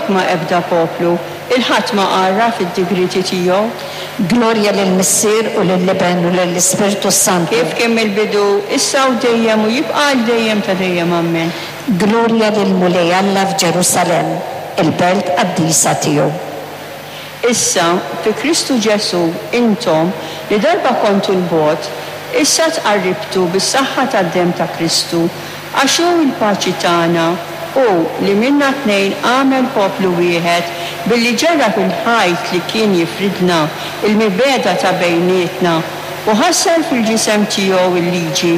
ħakma ebda poplu, 'il ħadd ma għarraf id-digrieti tiegħu. Glorja lill-Missier u lill-Iben u lill-Ispirtu s-Santu. Kif kien mill-bidu, issa u dejjem u jibqa' għal dejjem ta' dejjem. Ammen. Glorja lill-Mulej Alla f'Ġerusalemm, il-belt qaddisa tiegħu. Issa, fi Kristu Ġesù, intom, li darba kontu 'l bogħod, issa tqarribtu bis-saħħa tad-demm ta' Kristu, Għax hu l-paċi tagħna, hu li minna tnejn għamel poplu wieħed billi ġarrab il-ħajt li kien jifridna, il-mibegħda ta' bejnietna, u ħassar fil-ġisem tiegħu l-liġi,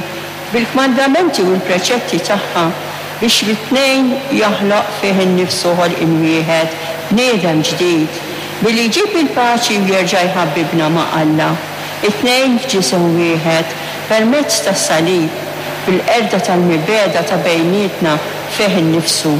bil-kmandamenti u l-preċetti tagħha, biex mit-tnejn joħloq fih innifsu ħolqien wieħed, bniedem ġdid, billi jġib il-paċi u jerġa' jħabbibna ma' Alla, it-tnejn f'ġisem wieħed, permezz tas-salib. bil-qerda tal-mibegħda ta' bejnietna fih innifsu.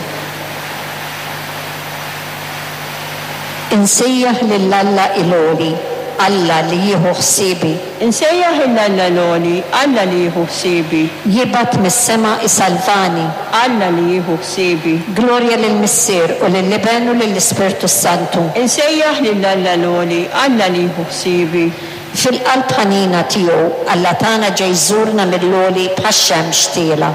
Insejjaħ lil Alla il-Għoli, Alla li jieħu ħsiebi. Insejjaħ 'il Alla l-Għoli, Alla li jieħu ħsiebi. Jibgħat mis-sema jsalvani. Alla li jieħu ħsiebi. Glorja lill-Missier u lill-Iben u lill-Ispirtu s-Santu. Insejjaħ lil Alla l-Għoli, Alla li jieħu ħsiebi. Fil-qalb ħanina tiegħu, Alla tagħna ġej jżurna mill-għoli bħax-xemx tielgħa.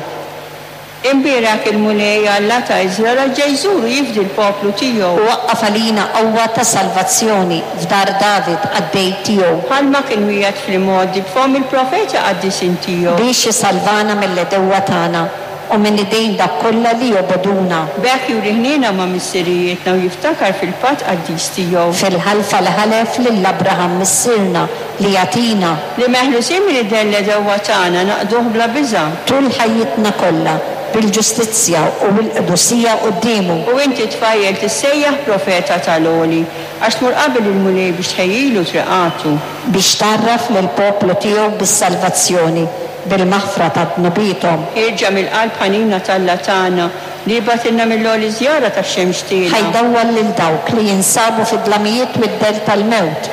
Imbierek il-Mulej, Alla ta' Iżrael, għax ġej jżur u jifdi l-poplu tiegħu. U waqqaf għalina qawwa ta' salvazzjoni f'dar David, qaddej tiegħu. Bħalma kien wiegħed fl-imgħoddi b'fomm il-profeti qaddisin tiegħu. Biex isalvana mill-għedewwa tagħna u minn idejn dawk kollha li jobogħduna. B'hekk juri ħniena ma' missirijietna u jiftakar fil-patt qaddis tiegħu. Fil-ħalfa li ħalef lil Abraham missierna li jagħtina. Li meħlusin minn idejn l-għedewwa tagħna naqduh bla biża'. Tul ħajjitna kollha, bil-ġustizzja u l-qdusija quddiemu. U inti, tfajjel, tissejjaħ profeta tal-Għoli, għax tmur qabel il-Mulej biex tħejjilu triqatu. Biex tgħarraf lill-poplu tiegħu bis-salvazzjoni bil-maħfra ta' dnubiethom. Ħierġa mill-qalb ħanina t'Alla tagħna, li jibgħatilna mill-għoli żjara tax-xemx tielgħa. Ħa jdawwal lil dawk li jinsabu fid-dlamijiet u d-dell tal-mewt,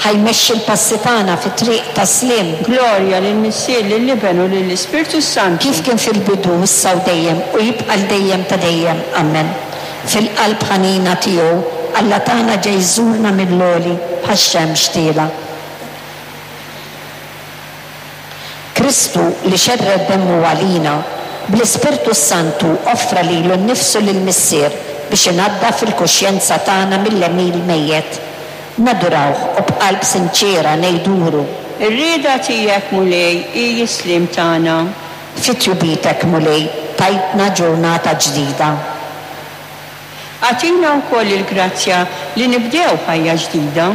ħa jmexxi l-passi tagħna fit-triq tas-sliem. Glorja lill-Missier, lill-Iben u lill-Ispirtu s-Santu. Kif kien fil-bidu, issa u dejjem, u jibqa' għal dejjem ta' dejjem. Ammen. Fil-qalb ħanina tiegħu, Alla tagħna ġej jżurna mill-għoli bħax-xemx tielgħa. Kristu, li xerred demmu għalina, bl-Ispirtu s-Santu offra lilu nnifsu lill-Missier biex inaddaf il-kuxjenza tagħna mill-għemil mejjet. Nadurawh u b'qalb sinċiera ngħidulu. Ir-rieda tiegħek, Mulej, hi s-sliem tagħna. Fi tjubitek, Mulej, tajtna ġurnata ġdida. Agħtina wkoll il-grazzja li nibdew ħajja ġdida.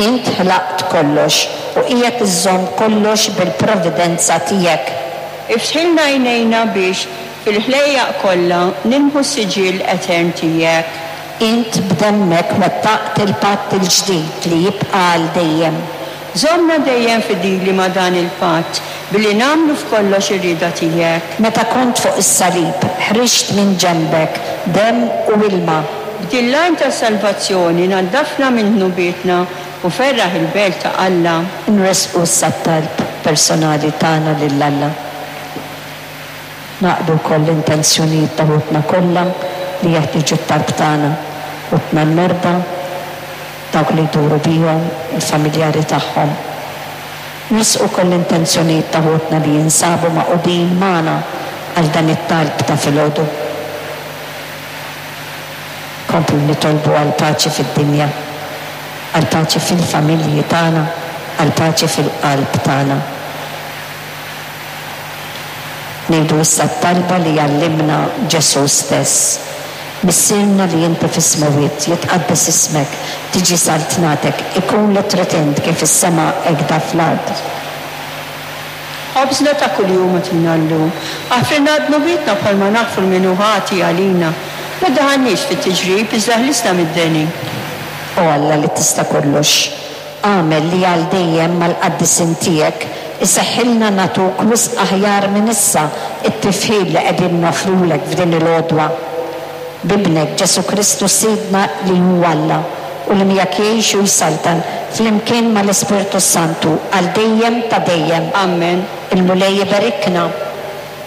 Int ħlaqt kollox u qiegħed iżżomm kollox bil-providenza tiegħek. Iftħilna għajnejna biex, fil-ħlejjaq kollha, nilmħu s-siġill etern tiegħek. Int b'demmek wettaqt il-patt il-ġdid li jibqa' għal dejjem. Żommna dejjem fidili ma' dan il-patt, billi nagħmlu f'kollox ir-rieda tiegħek. Meta kont fuq is-salib, ħriġt minn ġenbek demm u ilma. B'din l-għajn tas-salvazzjoni naddafna minn dnubietna u ferraħ il-belt ta' Alla. Inressqu issa t-talb personali tagħna lil Alla. Ngħaqqdu wkoll l-intenzjonijiet ta' ħutna kollha li jeħtieġu t-talb tagħna, ħutna l-morda, dawk li jduru bihom, il-familjari tagħhom. Nressqu wkoll l-intenzjonijiet ta' ħutna li jinsabu magħqudin magħna għal dan it-talb ta' filgħodu. Nkomplu nitolbu għall-paċi fid-dinja, għall-paċi fil-familji tagħna, għall-paċi fil-qalb tagħna. Ngħidu issa t-talba li għallimna Ġesù stess. Missierna li inti fis-smewwiet, jitqaddes ismek, tiġi saltnatek, ikun li trid int kif fis-sema hekda fl-art. Ħobżna ta' kuljum agħtina llum. Aħfrilna dnubietna bħalma naħfru 'l min hu ħati għalina. Ma ddaħħalniex fit-tiġrib, iżda ħlisna mid-deni. O Alla li tista' kollox, Agħmel li għal dejjem mal-qaddisin tiegħek iseħħilna nagħtuk wisq aħjar minn issa t-tifħir li qegħdin noffrulek f'din il-għodwa. B'Ibnek, Ġesù Kristu Sidna li hu Alla u li miegħek jgħix u jsaltan flimkien mal-Ispirtu s-Santu għal dejjem ta' dejjem. Ammen. Il-Mulej iberikna,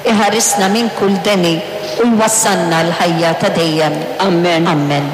iħarisna minn kull deni u jwassalna għall-ħajja ta' dejjem. Ammen. Ammen.